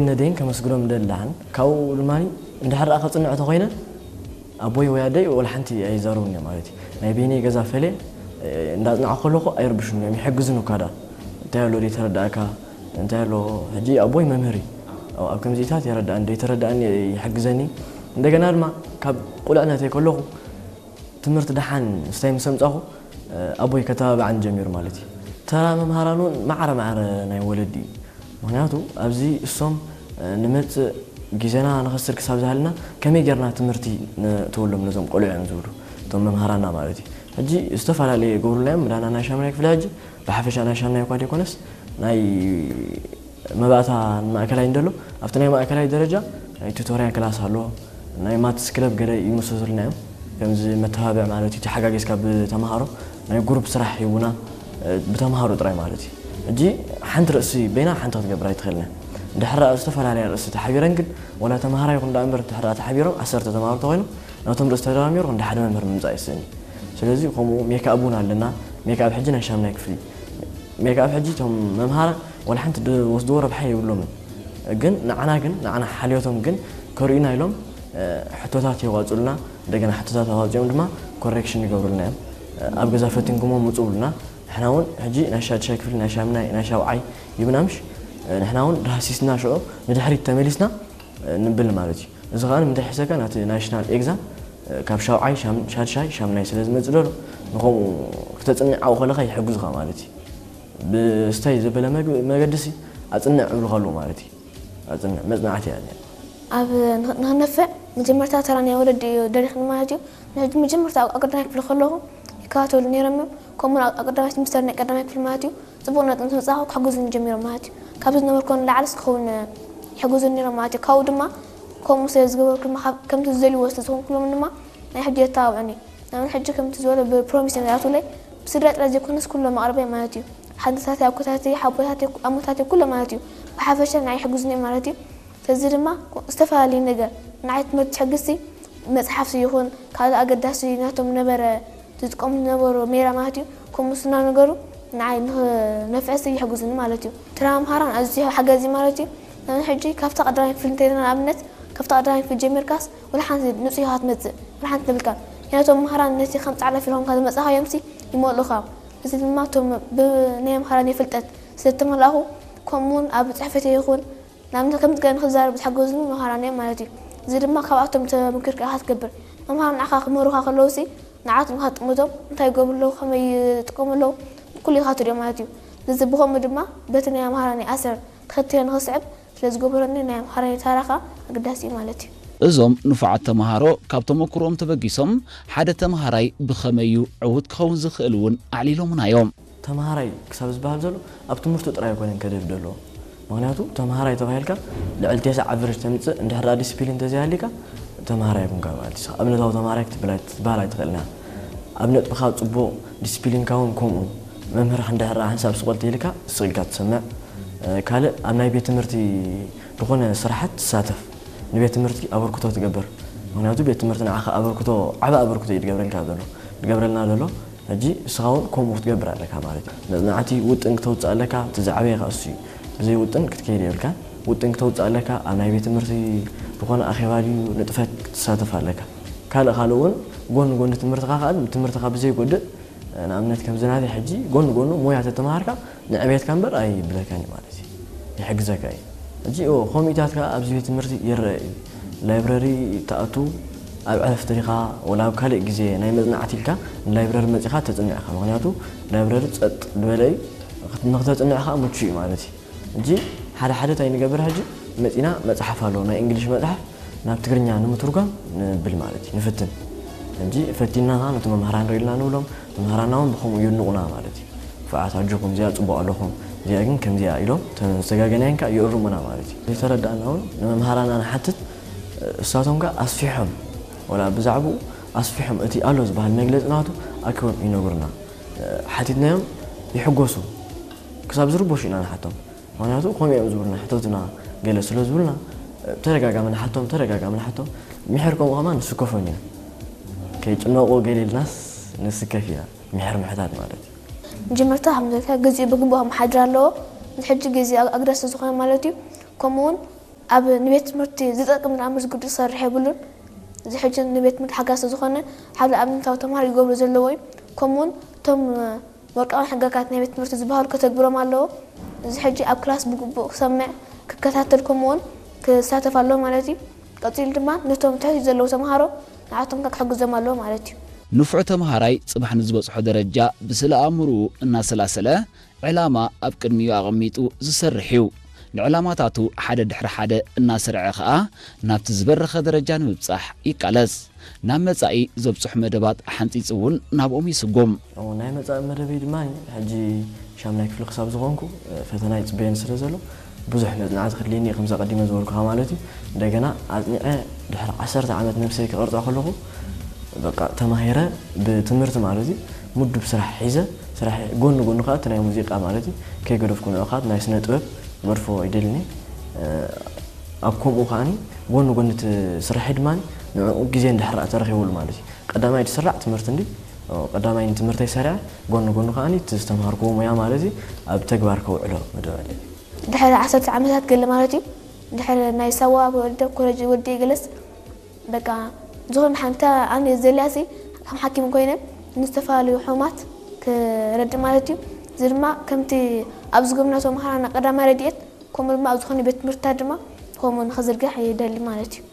ነደይን ከመስግኖም ደላን ካብኡ ድማ እንድሕር ደኣ ከጽንዖ ተኾይነ ኣቦይ ወይ ኣደይ ወላ ሓንቲ ኣይዛረቡን እዮም ማለት እዩ። ናይ በይነይ ገዛ ፈልየ እንዳጽናዕኩ ከለኹ ኣይርብሹን እዮም፣ ይሕግዙን እኳ ደኣ። እንታይ ኣሎ ዘይተረዳእካ እንታይ ኣሎ። ሕጂ ኣቦይ መምህር እዩ። ኣብ ከምዚታት የረዳእን ዘይተረዳእን ይሕግዘኒ። እንደገና ድማ ካብ ቁልዕነተይ ከለኹ ትምህርቲ ደሓን ምስታይ ምስ ኣምጻኹ ኣቦይ ከተባብዓኒ ጀሚሩ ማለት እዩ። ተራ መምሃራን እውን ማዕረ ማዕረ ናይ ወለዲ እዩ። ምክንያቱ ኣብዚ እሶም ንመጽእ ግዜና ንኸስር ክሳብ ዝሃልና ከመይ ጌርና ትምህርቲ ንእትወሎም ነዞም ቆልዑ እዮም ዝብሉ እቶም መምሃራና ማለት እዩ። ሕጂ ዝተፈላለየ ይገብሩልና እዮም። ምዳና ናይ ሻምናይ ክፍሊ ሕጂ ብሓፈሻ ናይ ሻምናይ እኳ ዘይኮነስ ናይ መባእታ ማእከላይ እንደሎ ኣብቲ ናይ ማእከላይ ደረጃ ናይ ቱቶርያ ክላስ ኣሎ፣ ናይ ማትስ ክለብ ገለ ይምስሱልና እዮም። ከምዚ መተባብዕ ማለት እዩ፣ ተሓጋጊዝካ ብተምሃሮ ናይ ጉሩፕ ስራሕ ሂቡና ብተምሃሮ ጥራይ ማለት እዩ። ሕጂ ሓንቲ ርእሲ በይና ሓንቲ ክትገብር ኣይትኽእልን እያ። እንድሕር ደኣ ዝተፈላለያ ርእሲ ተሓቢረን ግን ዋላ ተምሃራይ ይኹን ደኣ እምበር እንድሕር ደኣ ተሓቢሮም ዓሰርተ ተምሃሮ ተኾይኖም ናቶም ርእሲ ተደማሚሩ ክንዲ ሓደ መምህር ምምጻእ ይስእን እዩ። ስለዚ ከምኡ ሜክኣፕ እውን ኣለና። ሜክኣፕ ሕጂ ናይ ሻምናይ ክፍሊ ሜክኣፕ ሕጂ እቶም መምሃራን ዋላ ሓንቲ ዝወስድዎ ረብሓ የብሎምን። ግን ንዓና ግን ንዓና ሓልዮቶም ግን ከርእዩና ኢሎም ሕቶታት የዋፅሉና። እንደገና ሕቶታት ኣዋፂኦም ድማ ኮሬክሽን ይገብሩልና እዮም። ኣብ ገዛ ፈቲንኩሞ ምፁ ብሉና። ንሕና እውን ሕጂ ናይ ሻድሻይ ክፍሊ ናይ ሻምናይ ናይ ሻውዓይ ይብና ምሽ ንሕና እውን ዳህሲስና ሽዑ ንድሕሪት ተመሊስና ንብል ማለት እዩ። እዚ ከዓ ንምንታይ ሒሰካ ናቲ ናሽናል ኤግዛም ካብ ሻውዓይ ሻድሻይ ሻምናይ ስለ ዝመፅእ ዘሎ ንከምኡ ክተፅንዕ ኣብኡ ከለካ ይሕግዙካ ማለት እዩ። ብስተይ ዘበለ መገዲ ሲ ኣፅንዕ እብሉ ከለዉ ማለት እዩ። ኣፅንዕ መፅናዕቲ እያ እዚኣ። ኣብ ንኽነፍዕ መጀመርታ ተራ ናይ ወለዲ እዩ ደሪኽኒ ማለት እዩ። ንሕጂ መጀመርታ ኣብ ቀዳማይ ክፍሊ ከለኹ ይከታተሉ ነይሮም እዮም። ከምኡ ኣብ ቀዳማይ ሚስተር ናይ ቀዳማይ ክፍሊ ማለት እዩ። ጽቡቕ ነጥቢ ምስ መጻእኩ ክሕግዙኒ ጀሚሮም ማለት እዩ። ካብ ዝነበርኩ ንላዕሊ ክኸውን ይሕግዙኒ ነይሮም ማለት እዩ። ካብኡ ድማ ከምኡ ስለ ዝገበርኩ ድማ ከምቲ ዝደልይዎ ስለ ዝኾንኩሎም ድማ ናይ ሕጂ የተባብዑኒ። ንኣብነት ሕጂ ከምቲ ዝበሎ ብፕሮሚስ እዮም ዝኣትውለይ። ብስድራ ጥራይ ዘይኮነስ ኩሎም ኣቕርበይ ማለት እዩ። ሓንታተይ፣ ኣኮታተይ፣ ሓቦታተይ፣ ኣሞታተይ ኩሎም ማለት እዩ። ብሓፈሻ ንዓይ ይሕግዙኒ እዮም ማለት እዩ። ስለዚ ድማ ዝተፈላለዩ ነገር ንዓይ ትምህርቲ ትሕግዝቲ መጽሓፍቲ ይኹን ካልእ ኣገዳሲ ናቶም ነበረ ዝጥቀሙ ዝነበሩ ሜላ ማለት እዩ። ከምኡ ስና ነገሩ ንዓይ ንኽነፍዕሲ ይሕግዙኒ ማለት እዩ። ተራ መምሃራን ኣዝዩ ሓጋዚ ማለት እዩ። ንኣብነት ሕጂ ካብታ ቀዳማይ ክፍሊ እንተይልና ንኣብነት ካብታ ቀዳማይ ክፍሊ ጀሚርካስ ወላ ሓንቲ ንጹህ ኢኻ ትመጽእ፣ ወላ ሓንቲ የብልካን። ምክንያቱ መምሃራን ነቲ ከም ጻዕዳ ፊልም ካብ ዝመጻኻዮምሲ ይመልኡኻ። እዚ ድማ እቶም ብናይ መምሃራን ፍልጠት ስለ ዝተመላእኹ ከምኡውን ኣብ ጽሕፈተይ ይኹን ንኣብነት ከምቲ ገለ ንኽዛረብ ዝሓገዙኒ መምሃራን እዮም ማለት እዩ። እዚ ድማ ካብኣቶም ተመኪርካ ኢኻ ትገብር። መምሃራን ንዓኻ ክምህሩኻ ከለውሲ ንዓቶም ኢኻ ትጥምቶም፣ እንታይ ይገብሩ ኣለዉ፣ ከመይ ይጥቀሙ ኣለዉ፣ ኩሉ ኢኻ ትሪኦ ማለት እዩ። ስለዚ ብኸምኡ ድማ በቲ ናይ መምሃራን ኣሰር ተኸቲለ ንኽስዕብ ስለ ዝገበረኒ ናይ መምሃራን ታራ ኸኣ ኣገዳሲ እዩ ማለት እዩ። እዞም ንፉዓት ተምሃሮ ካብ ተመኩሮኦም ተበጊሶም ሓደ ተምሃራይ ብኸመይ እዩ ዕዉት ክኸውን ዝኽእል እውን ኣዕሊሎምና እዮም። ተምሃራይ ክሳብ ዝበሃል ዘሎ ኣብ ትምህርቱ ጥራይ ኣይኮነን ከደፍ ዘለዎ። ምክንያቱ ተምሃራይ ተባሂልካ ልዕሊ ቴስዓ ኣቨሬጅ ተምፅእ እንድሕር ደኣ ዲስፕሊን እንተዘይሃልዩካ ተምሃራይ ኣይኮንካ ማለት እዩ። ኣብነታዊ ተምሃራይ ክትብል ኣይ- ክትበሃል ኣይትኽእልን ኢኻ። ኣብ ነጥብኻ ፅቡቕ፣ ዲስፕሊንካ እውን ከምኡ። መምህርካ እንድሕር ደኣ ሓንሳብ ስቕ ተይልካ ስቕ ኢልካ ትሰምዕ። ካልእ ኣብ ናይ ቤት ትምህርቲ ዝኾነ ስራሓት ትሳተፍ፣ ንቤት ትምህርቲ ኣበርክቶ ትገብር። ምክንያቱ ቤት ትምህርቲ ንዓኻ ኣበርክቶ፣ ዓቢ ኣበርክቶ እዩ ዝገብረልካ ዘሎ፣ ዝገብረልና ዘሎ። ሕጂ ንስኻ እውን ከምኡ ክትገብር ኣለካ ማለት እዩ። መጽናዕቲ ውጥን ክተውጽእ ኣለካ፣ እቲ ዝዓበየ ከኣ እሱ እዩ። ብዘይ ውጥን ክትከይድ የብልካን። ውጥን ክተውጽእ ኣለካ፣ ኣብ ናይ ቤት ትምህርቲ ዝኾነ ኣኼባ ድዩ ንጥፈት ክትሳተፍ ኣለካ። ካልእ ካልእ እውን ጎኒ ጎኒ ትምህርትኻ ከኣ ትምህርትኻ ብዘይጎድእ ንኣብነት ከምዚ ናተይ ሕጂ ጎኒ ጎኑ ሞያ ተተምሃርካ ንዕቤትካ እምበር ኣይብለካን እዩ ማለት እዩ። ይሕግዘካ እዩ። ሕጂ እዎ ኮሚታት ከኣ ኣብዚ ቤት ትምህርቲ ይረአ እዩ። ላይብረሪ ትኣቱ ኣብ ዕረፍቲ ዲኻ ወላ ኣብ ካልእ ግዜ ናይ መጽናዕቲ ኢልካ ንላይብረሪ መጺኻ ተጽንዕ ኢኻ። ምኽንያቱ ላይብረሪ ጸጥ ዝበለ እዩ። ንኽተጽንዕ ከኣ ምቹእ እዩ ማለት እዩ። ሕጂ ሓደ ሓደ እንታይ ንገብር ሕጂ መጺና መጽሓፍ ኣሎ ናይ እንግሊሽ መጽሓፍ ናብ ትግርኛ ንምትርጓም ንብል ማለት እዩ፣ ንፍትን። ሕጂ ፈቲንና ኸዓ ነቲ መምህራን ርኢልና ንብሎም፣ መምህራንና እውን ብኸምኡ የድንቑና ማለት እዩ። ንፉዓት ኣጆኹም፣ እዚኣ ጽቡቕ ኣለኹም፣ እዚኣ ግን ከምዚኣ ኢሎም፣ እተን ዝተጋገናየን ከኣ ይእርሙና ማለት እዩ። ዘይተረዳእና እውን ንመምሃራንና ንሓትት፣ እሳቶም ከኣ ኣስፊሖም፣ ወላ ብዛዕባኡ ኣስፊሖም፣ እቲ ኣሎ ዝበሃል መግለጺ ናቱ ኣኪቦም ይነግሩና። ሓቲትናዮም ይሕጎሱ፣ ክሳብ ዝርበሹ ኢና ንሓቶም። ምኽንያቱ ከምኡ እዮም ዝብሉና፣ ሕተቱና ገለ ስለ ዝብሉና፣ ተደጋጋሚ ንሓቶም፣ ተደጋጋሚ ንሓቶም። ምሒር ከምኡ ከማን ንስከፎም ኢና። ከይጭነቑ ገለ ኢልናስ ንስከፍ ኢና፣ ምሒር ምሕታት ማለት እዩ። መጀመርታ ከም ዝበልካ ግዜኡ ብግቡእ ክመሓድር ኣለዎ። ሕጂ ግዜ ኣግ-፣ ኣግዳሲ ዝኾነ ማለት እዩ። ከምኡውን ኣብ ንቤት ትምህርቲ ዝጠቅም ንኣምር ዝግዱ ዝሰርሕ የብሉን። እዚ ሕጂ ንቤት ትምህርቲ ሓጋዚ ዝኾነ ሓደ ኣብነታዊ ተምሃሮ ይገብሩ ዘለዎ እዩ። ከምኡውን እቶም ወርቃዊ ሕግጋት ናይ ቤት ትምህርቲ ዝበሃሉ ከተግብሮም ኣለዎ። እዚ ሕጂ ኣብ ክላስ ብግቡእ ክሰምዕ፣ ክከታተል ከምኡውን ክሳተፍ ኣለዎ ማለት እዩ። ቀፂሉ ድማ ነቶም ትሕቲ ዘለዉ ተምሃሮ ንዓቶም ከ ክሕግዞም ኣለዎ ማለት እዩ። ንፉዕ ተምሃራይ ጽባሕ ንዝበጽሖ ደረጃ ብስለ ኣእምርኡ እናሰላሰለ ዕላማ ኣብ ቅድሚኡ ኣቐሚጡ ዝሰርሕ እዩ። ንዕላማታቱ ሓደ ድሕሪ ሓደ እናሰርዐ ኸኣ ናብቲ ዝበረኸ ደረጃ ንምብጻሕ ይቃለስ። ናብ መጻኢ ዘብጽሑ መደባት ሓንጺጹ እውን ናብኦም ይስጉም። ናይ መጻኢ መደበይ ድማ ሕጂ ሻምናይ ክፍሊ ክሳብ ዝኾንኩ ፈተና ይጽበየኒ ስለ ዘሎ ብዙሕ መጽናዕቲ ክድልየኒ እዩ፣ ከምዚ ኣቐዲመ ዝበልኩኻ ማለት እዩ። እንደገና ኣጽኒዐ ድሕሪ ዓሰርተ ዓመት ነብሰይ ክቐርጻ ከለኹ በቃ ተማሂረ ብትምህርቲ ማለት እዩ ምዱብ ስራሕ ሒዘ ስራሕ ጎኒ ጎኒ ከዓ እቲ ናይ ሙዚቃ ማለት እዩ ከይገደፍኩ ንዑ ከዓ ናይ ስነ ጥበብ መድፎ ይደልኒ ኣብ ከምኡ ከዓኒ ጎኒ ጎኒ እቲ ስራሐይ ድማ ንዕኡ ግዜ እንድሕር ተረኺቡሉ ማለት እዩ ቀዳማይ ዝስራዕ ትምህርቲ እንዲ ቀዳማይ ንትምህርተይ ሰሪዐ ጎኒ ጎኒ ከዓኒ እቲ ዝተምሃርክዎ ሙያ ማለት እዩ ኣብ ተግባር ከውዕሎ መደብ ኣለኒ። ድሕሪ ዓሰርተ ዓመታት ገለ ማለት እዩ ድሕሪ ናይ ሳዋ ወደ ኮለጅ ወዲ ገለስ በቃ ዝኾነ ሓንታ ኣነ ዘልያሲ ከም ሓኪም ኮይነ ንዝተፈላለዩ ሕማት ክረድእ ማለት እዩ። እዚ ድማ ከምቲ ኣብ ዝገብና ተምሃራና ቀዳማይ ረድኤት ከምኡ ድማ ኣብ ዝኾነ ቤት ትምህርትታት ድማ ከምኡ ንኽዝርጋሕ ይደሊ ማለት እዩ።